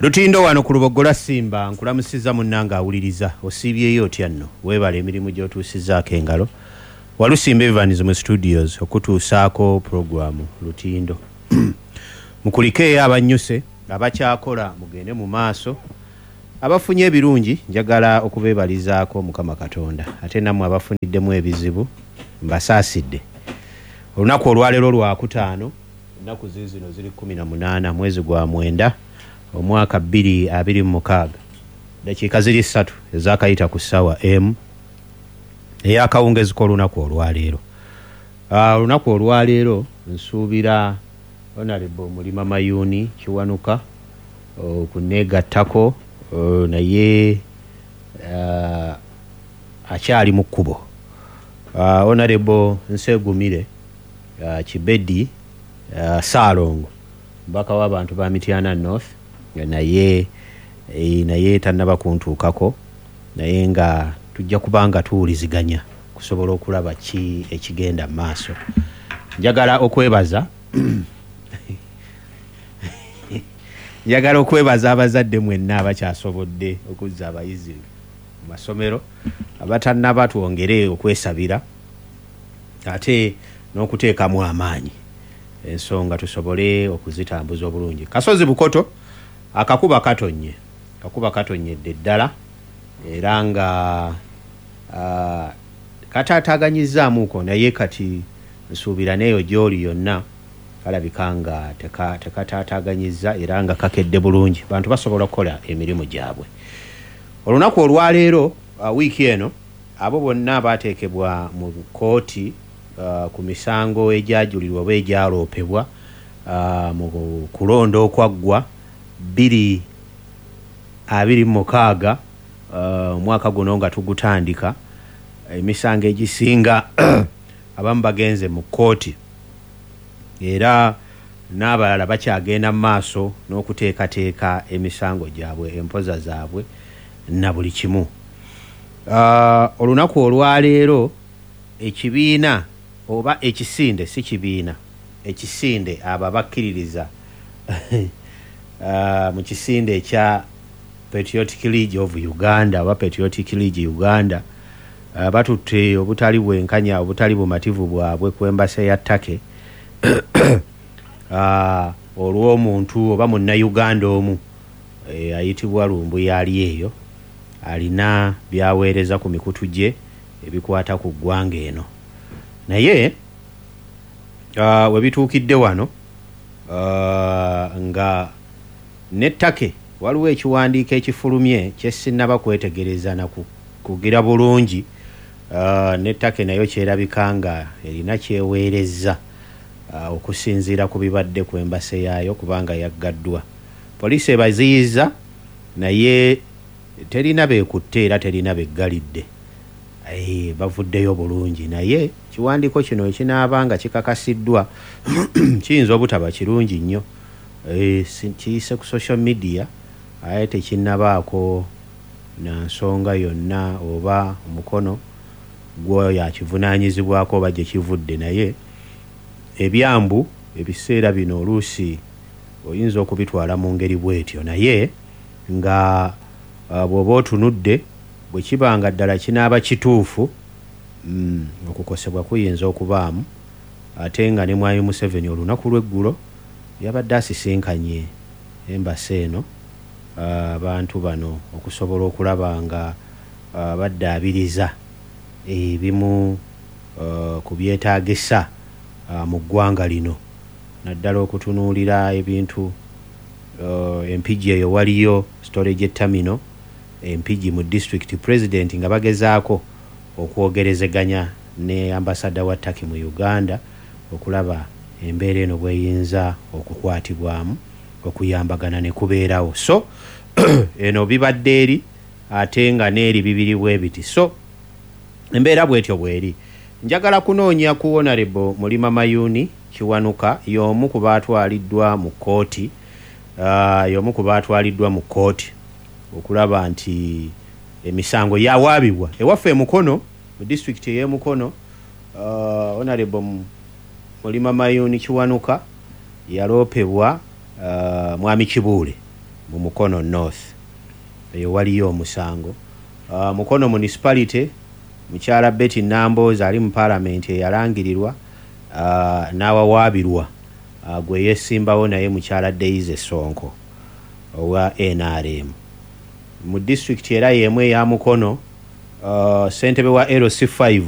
Lutindo wano ku Luboggola Simba, nkulamusizza munnange awuliriza. Osiibyeyo otya nno? Weebale emirimu gy'otuusizzaako engalo. Walusimba Evans mu studios okutuusaako pulogulaamu Lutindo. Mukulikeeyo abannyuse, abakyakola mugende mu maaso. Abafunye ebirungi njagala okubeebalizaako Mukama Katonda, ate nammwe abafuniddemu ebizibu mbasaasidde. Olunaku olwaleero Lwakutaano, ennaku ziizino ziri 18 mwezi gwa mwenda omwaka 2026. Ddakiika ziri ssatu ezaakayita ku ssaawa emu ey'akawungezi k'olunaku olwaleero. Olunaku olwaleero nsuubira Honourable Mulima Mayuuni Kiwanuka okuneegattako naye akyali mu kkubo. Honourable Nsegumire Kibedi Ssaalongo mubaka w'abantu ba Mityana North naye naye tannaba kuntuukako naye nga tujja kuba nga tuwuliziganya okusobola okulaba ki ekigenda mu maaso. Njagala okwebaza njagala okwebaza abazadde mwenna abakyasobodde okuzza abayizi mu masomero, abatannaba twongere okwesabira ate n'okuteekamu amaanyi ensonga tusobole okuzitambuza obulungi. Kasozi Bukoto akakuba katonnye, akakuba katonnyedde ddala era nga kataataaganyizaamuuko naye kati nsuubira n'eyo gy'oli yonna kalabika nga tekataataaganyizza era nga kakedde bulungi, bantu basobola okukola emirimu gyabwe. Olunaku olwaleero wiiki eno abo bonna abaateekebwa mu kkooti ku misango egyajulirwa oba egyaloopebwa mu kulonda okwaggwa 2026, omwaka guno nga tugutandika, emisango egisinga abamu bagenze mu kkooti era n'abalala bakyagenda mu maaso n'okuteekateeka emisango gyabwe, empoza zaabwe na buli kimu. Olunaku olwaleero ekibiina oba ekisinde, si kibiina, ekisinde, abo abakkiririza mu kisinde ekya Patriotic League of Uganda oba Patriotic League Uganda, batutte obutali bwenkanya, obutali bumativu bwabwe ku embassy ya Turkey olw'omuntu oba munnayuganda omu ayitibwa Lumbuye ali eyo alina by'aweereza ku mikutu gye ebikwata ku ggwanga eno. Naye we bituukidde wano nga ne Turkey waliwo ekiwandiiko ekifulumye kye sinnaba kwetegereza na kugira bulungi, ne Turkey nayo kyerabika nga erina ky'eweerezza okusinziira ku bibadde ku embassy yaayo kubanga yaggaddwa. Poliisi ebaziyizza naye terina beekutte era terina beggalidde. Bavuddeyo bulungi naye ekiwandiiko kino ekinaaba nga kikakasiddwa kiyinza obutaba kirungi nnyo. Kiyise ku social media aye tekinnabaako na nsonga yonna oba omukono gw'oyo akivunaanyizibwako oba gye kivudde, naye ebyambu ebiseera bino oluusi oyinza okubitwala mu ngeri bw'etyo, naye nga bw'oba otunudde bwe kiba nga ddala kinaaba kituufu, okukosebwa kuyinza okubaamu, ate nga ne Mwami Museveni olunaku lw'eggulo yabadde asisinkanye embassy eno abantu bano okusobola okulaba nga baddaabiriza ebimu ku byetaagisa mu ggwanga lino, naddala okutunuulira ebintu Empigi eyo waliyo storage terminal Empigi mu disitulikiti, Pulezidenti nga bagezaako okwogerezeganya ne ambasada wa Turkey mu Uganda okulaba embeera eno bw'eyinza okukwatibwamu okuyambagana ne kubeerawo. So eno bibadde eri ate nga n'eri bibiri bwe biti, so embeera bw'etyo bw'eri. Njagala kunoonya ku Honourable Mulima Mayuuni Kiwanuka, y'omu ku baatwaliddwa mu kkooti, y'omu ku baatwaliddwa mu kkooti okulaba nti emisango yawaabibwa ewaffe e Mukono mu disitulikiti ey'e Mukono. Honourable Mulima Mayuuni Kiwanuka yaloopebwa Mwami Kibuule. mu Mukono North, eyo waliyo omusango. Mukono Municipality, mukyala Betty Nambooze ali mu Paalamenti eyalangirirwa n'awawaabirwa gwe yeesimbawo naye, mukyala Daisy Sonko owa NRM. Mu disitulikiti era y'emu eya Mukono, ssentebe wa LC5